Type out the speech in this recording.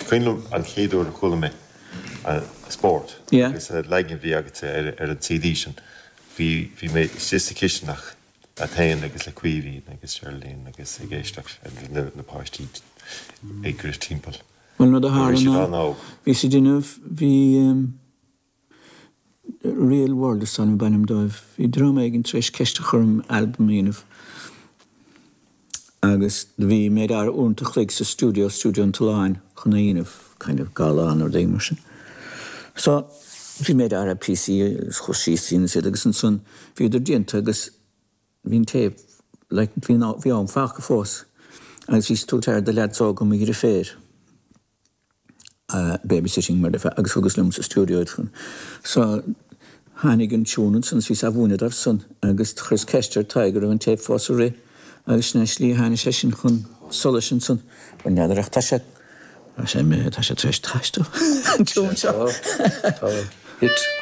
Cuimhin liom an chéad uair a chuala mé Spórt agus an leagan a bhí agatsa ar an CD sin. Bhí bhí mé istigh sa chisteanach leat féin agus le Caoimhín agus Geraldine agus ag éisteacht le na páistí ag rith timpeall. Bhuel, an rud a tharla ná, bhíos ag déanamh, bhí Real World is dóigh liom ab ainm dóibh, bhí dream éigin tar éis ceist a chur orm albam a dhéanamh agus do bhí mé ar uaireanta a chloig sa stiúideo, Stiúideo an tSuláin, chun é a dhéanamh, kind of gala nó rud éigin mar sin. So, bhí mé ar píosaí agus chuas síos dhéanas iad agus ansan bhíodar déanta agus bhí an téip, like, bhí bhí am fágtha fós agus bhíos ag tabhairt aire do leaids óga mo dheirféar, babysitting mar a déarfá, agus thugas liom sa stiúideo iad chun, so tháinig an tiún ansan is bhíos á mhúineadh dóibh san agus chuireas ceist ar Tadhg an raibh an téip fós ag rith agus sin é an slí a tháinig sé sin chun solais ansan. Bhuel n'fheadar ach tá sé, tá sé imithe, tá sé tar éis taisteal an tiún seo. Tá, tá, hit.